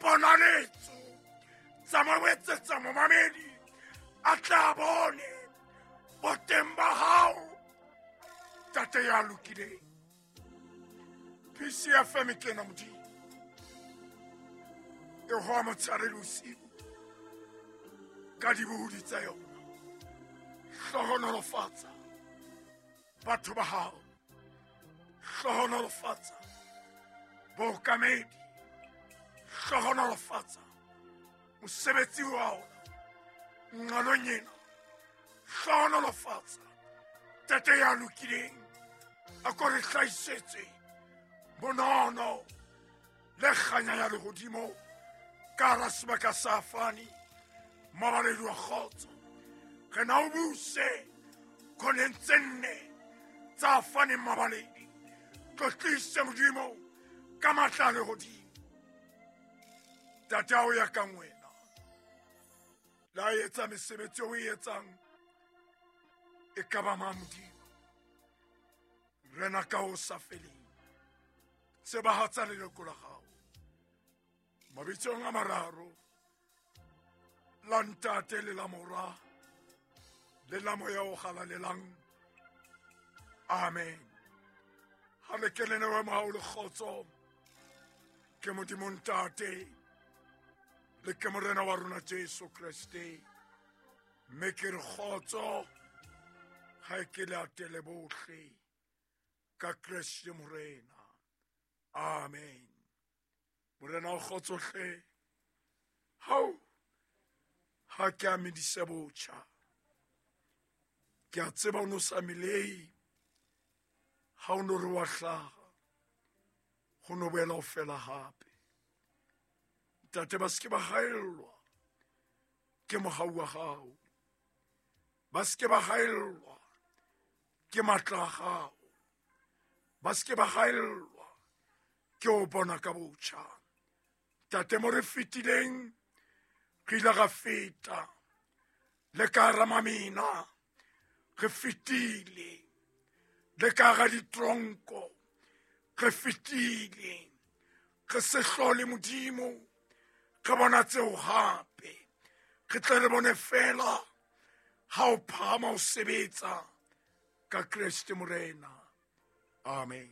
Diponaletso tsa mo etsetsa momamedi a tla bone boteng ba hao, Tate ya lokileng. PCFM ke ena Modimo, e hoa motshehare le bosiu ka dibohodi tsa yona. Hlohonolofatsa batho ba hao, hlohonolofatsa bookamedi, hlohonolofatsa mosebetsi wa ona nqalong ena. Hlohonolofatsa Tate ya lokileng, a ko re hlahisetse bonono le kganya ya lehodimo ka hara sebaka sa Fani mabaledi wa kgotso. Re na o buse khoneng tse nne tsa Fani mabaledi. Tlotlise Modimo ka matla a lehodimo. Tate, ao ya kang wena la etsa mesebetsi o e etsang e ka ba mang Modimo? Rena ka ho sa feleng, tsebahatsa leloko la gago mabitsong a mararo, la Ntate le la Mora le la Moya o Galalelang. Amen. Ha le ke le newe mohau le kgotso ke Modimo Ntate le ke Morena wa rona Jesu Kriste, mme ke re kgotso ga e ke le atele bohle ka Kriste Morena. Amen. Morena o kgotsohle hao ha ke a medise botjha. Ke a tseba o no sa melei ha o no re wa hlaha, go no boela o fela gape. Ntate, ba seke ba gaellwa ke mogau wa gago, ba seke ba gaellwa ke matla a gago, ba seke ba gaellwa ke o bona ka botjha. Tate, mo re fetileng re ile ga feta le ka hara mamina, re fetile le ka ga ditronko, re fetile re se hlole Modimo re bona tseo gape. Re tle re bone fela ha o phahama o sebetsa ka Kreste Morena. Amen.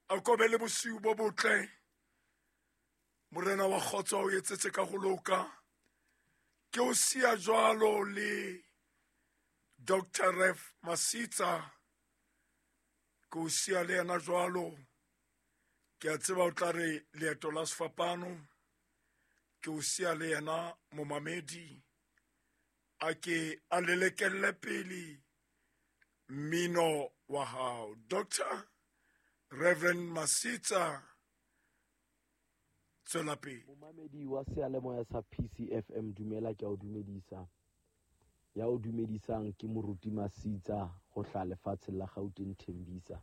A ko be le bosiu bo botle. Morena wa kgotso o etsetse ka go loka. Ke o sia jwalo le Dr. Ref Masitsa, ke o sia le yena jwalo. Ke a tseba o tla re leeto la sefapano. Ke o sia le yena momamedi, a ke a lelekelle pele mmino wa hao. Dr. Reverend Masitsa, tswela pele. Momamedi wa seyalemoya sa PCFM, dumela, ke a o dumedisa. Ya o dumedisang ke Moruti Masitsa go hla lefatsheng la Gauteng, Thembisa.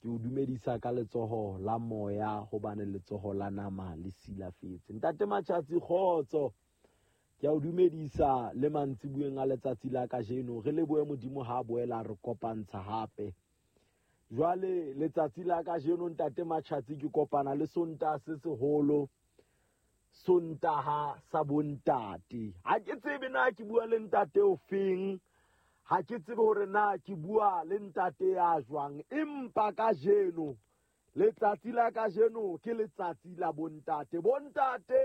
Ke o dumedisa ka letsoho la moya hobane letsoho la nama le silafetse. Ntate Matjhatsi, kgotso. Ke a o dumedisa le mantsibueng a letsatsi la kajeno. Re lebohe Modimo ha boela re kopantsha hape. Jwale letsatsi la kajeno, Ntate Matjhatsi, ke kopana le Sontaha se seholo, Sontaha sa bontate. Ha ke tsebe na ke bua le ntate o feng, ha ke tsebe hore na ke bua le ntate ya jwang, empa kajeno letsatsi la kajeno ke letsatsi la bontate. Bontate,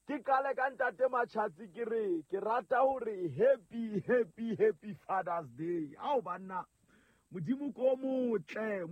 ke qale ka Ntate Matjhatsi, ke re ke rata hore happy, happy, happy Father's Day. Ao banna, Modimo ko motle.